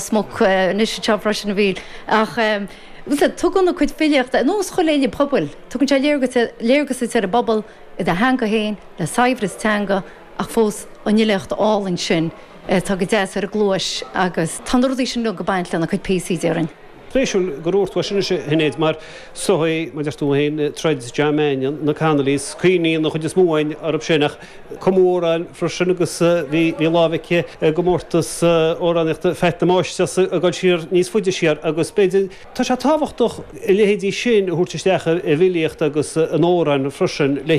Ros Muc anois anseo freisin a Mhíchíl. Ach tugann a cuid filíochta, ar nós chuile fhile pobail, tugann sé léargas duit ar an bpobal i do theanga féin, le saibhreas teanga ach fós an fhilíocht álainn sin atá go deas ar an gcluais agus tá na rudaí sin uilig ag baint lena cuid píosaí, déarfainn. Spéisiúil gur dhúirt tú é sin anois, a Shinéad, mar is dóigh, mar a deir tú féin, troid John Mannion, na Connollys, cuimhníonn an chuid is mó againn orthu sin ach cumadh amhráin freisin agus bhí lámh aici i gcomórtas amhránaíochta Pheait na Máistreasa ag dul siar níos faide siar agus b'fhéidir, tá sé tábhachtach a leithéidí sin a thabhairt isteach i bhfilíocht agus in amhráin freisin le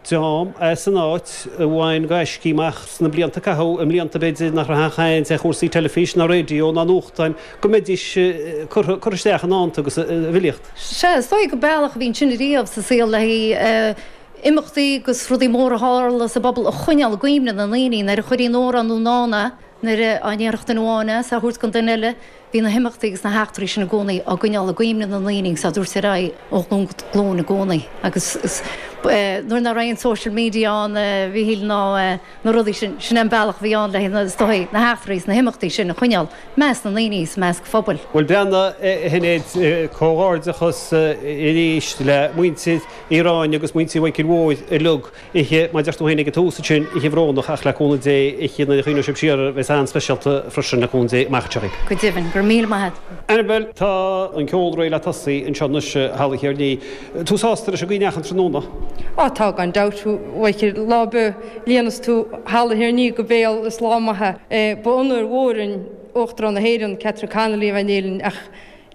dream as an áit a bhain gaiscí amach sna blianta a caitheadh, i mblianta b'fhéidir nach raibh aon chaint ar chúrsaí teilifíse ná raidió ná nuachtáin, go mbeidís curtha isteach i ndánta agus i bhfilíocht. Sea, is dóigh gur bealach a bhí ansin ariamh sa saol le haghaidh imeachtaí agus rudaí móra a tharla sa bpobal a choinneáil i gcuimhne na ndaoine nuair a chuirtí in amhrán nó ndán é, nuair a ndéarfadh duine amháin é is á thabhairt don duine eile. Bhí na himeachtaí agus na heachtraí sin i gcónaí á gcoinneáil i gcuimhne na ndaoine agus á dtabhairt ar aghaidh ó ghlúin go glúin i gcónaí. Agus nuair nach raibh aon social media ann, a Mhíchíl, ná na rudaí sin, sin é an bealach a bhí ann le, is dóigh, na heachtraí is na himeachtaí sin a choinneáil i measc na ndaoine is i measc an phobail. Bhuel, breathnaigh, a Shinéad, comhghairdeachas arís le muintir Uí Ráinne agus muintir Mhichíl Mhóir uilig. Oíche, mar a deir tú féin ag an tús ansin, oíche bhrónach ach le cúnamh Dé, oíche nuair a chuimhneoidh sibh siar air, bheas an-speisialta freisin le cúnamh Dé amach anseo. Go deimhin, go raibh míle maith agat. Annabel, tá an ceol réidh le tosaí anseo anois i Halla Thír an Fhia. Tú sásta leis an gcaoi a ndeachaigh an tráthnóna? Á tá, gan dabht. A Mhichíl, lá ar bith a líonas tú Halla Thír an Fhia go béal is lá maith é. Ba onóir mhór dúinn Uachtarán na hÉireann, Catherine Connolly a bheith in Éirinn ach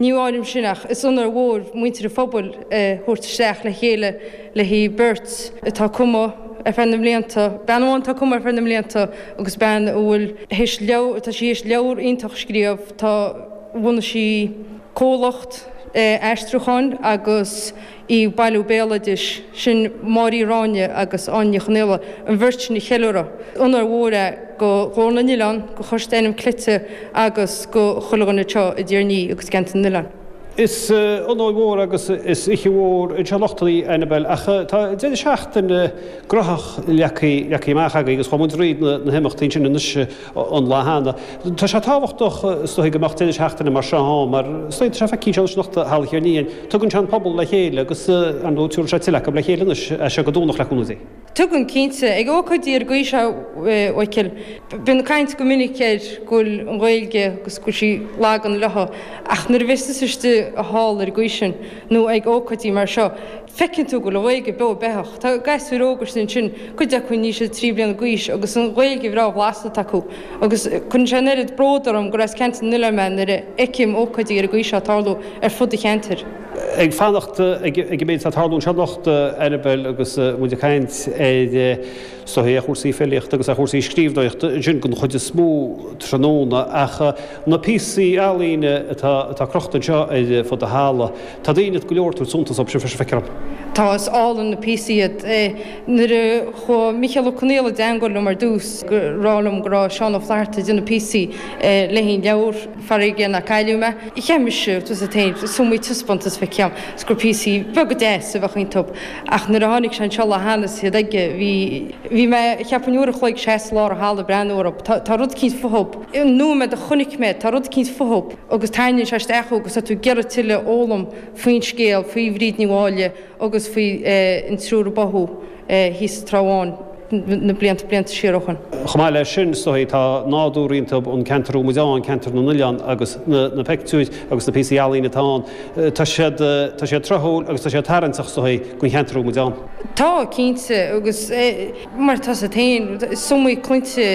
Ní áirím sin ach is onóir mhór muintir an phobail a thabhairt isteach le chéile le haghaidh beirt atá ag cumadh ar feadh na mblianta, bean amháin atá ag cumadh ar feadh na mblianta agus bean a bhfuil théis leabhar, tá sí théis leabhar iontach a scríobh, tá, bhunaigh sí comhlacht aistriúcháin agus í ag bailiú béaloidis, sin Máire Uí Ráinne agus Áine Ní Chonaola, an bheirt sin a cheiliúradh. Onóir mhór é go Ghlór na nOileán, go Choiste Ainm Cleite agus go chuile dhuine anseo i dTír an Fhia agus i gCeantar na nOileán. Is onóir mhór agus is oíche mhór anseo anocht í, Annabel, ach tá deireadh seachtaine graitheach leagtha amach agaibh agus chuaigh muid thríd na himeachtaí ansin anois an lá cheana. Tá sé tábhachtach is dóigh go mbeadh deireadh seachtaine mar seo ann mar is dóigh tá sé feicthe anseo anois anocht i Halla Thír an Fhia. Tugann sé an pobal le chéile agus ar ndóigh tabharfaidh sé tuilleadh acu le chéile anois as seo go Domhnach le cúnamh Dé. Tugann, cinnte. Ag ócáidí ar an gcaoi seo, a Mhichíl, bíonn caint go minic ar go bhfuil an Ghaeilge agus go bhfuil sí lag an leo ach nuair a bheas tusa istigh i halla ar an gcaoi sin nó ag ócáidí mar seo, Feiceann tú go bhfuil an Ghaeilge beo beathach. Tá gasúir óga istigh ansin, cuid acu níl siad 3 bliana d'aois agus an Ghaeilge bhreá bhlasta atá acu. Agus cuireann sé an oiread bród orm gur as Ceantar na nOileán mé nuair a fheicim ócáidí ar an gcaoi seo ag tarlú ar fud an cheantair. Ag fanacht ag an méid atá ag tarlú anseo anocht, Annabel, agus muid ag caint ar is dóigh ar chúrsaí filíochta agus ar chúrsaí scríbhneoireachta ansin den chuid is mó tráthnóna ach na píosaí ealaíne atá crochta anseo ar fud an halla, Tá daoine go leor ag tabhairt suntas dóibh sin freisin, feictear dom. Tá, is álainn na píosaí iad. Nuair a chuaigh Mícheál Ó Conaola i dteangmháil liom ar dtús ag rá liom go raibh Seán Ó Flatharta ag déanamh píosaí le haghaidh an leabhar, Farraige Nach Cailleadh Mé, cheap mise, tá a fhios agat féin, is iomaí taispeántas feicthe agam is gur píosaí beaga deasa a bheadh iontu. Ach nuair a tháinig sé anseo lá cheana is iad aige, bhí, bhí mé, cheapfainn uair a chloig seasamh i lár an halla ag breathnú orthu. Tá, tá rud eicínt fúthu. An nóiméad a chonaic mé, tá rud eicínt fúthu. agus tarraingíonn sé isteach thú agus tá tú ag iarraidh tuilleadh a fhoghlaim faoin scéal, faoi Bhríd Ní Mháille agus faoi an triúr a báthadh thíos sa Trá Bháin na blianta, blianta siar ó shoin. Chomh maith leis sin, is dóigh, tá nádúr iontú, an ceantar a bhfuil muid ann, ceantar na n-oileán agus na peictiúir agus na píosaí ealaíne atá ann, tá siad, tá siad tráthúil agus tá siad tarraingteach, is dóigh, don cheantar a bhfuil muid ann. Tá, cinnte, agus mar tá a fhios agat féin, is iomaí claimhte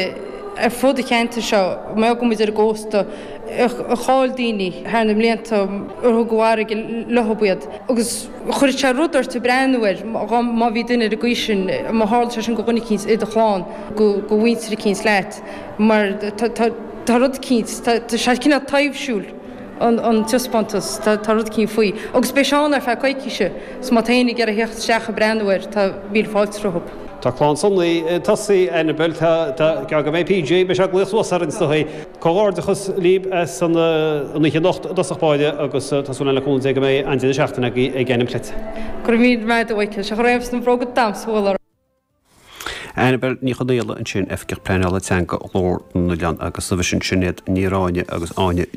ar fud an cheantair seo, mar go bhfuil muid ar an gcósta, a chaill daoine thar na mblianta ar thug an fharraige leo iad agus chuirfeadh sé rud ort ag breathnú air má bhí duine ar an gcaoi sin, má tharla sé sin go dhuine eicínt i do chlann, go mhuintir eicínt leat mar tá rud eicínt, tá sé cineál taibhsiúil an taispeántas, tá rud eicínt faoi. Agus beidh sé ann ar feadh coicíse so má tá éinne ag iarraidh theacht isteach ag breathnú air tá míle fáilte rompu. Tá clann Sonaí ag tosaí, Annabel, tá, tá, go mbeidh PJ, beidh sé ag glaoch suas orainn is dóigh. Comhghairdeachas libh as an oíche anocht i dtosach báire agus tá súil againn le cúnamh Dé go mbeidh an-deireadh seachtaine agaibh ag Ainm Cleite. Go raibh míle maith agat a Mhichíl, sé chomh raibh sna bróga damhsa bhfuil orm. Annabel Ní Chonaola ansin, Oifigeach Pleanála Teanga Ghlór na nOileán agus roimhe sin Sinéad Ní Ráinne agus Áine.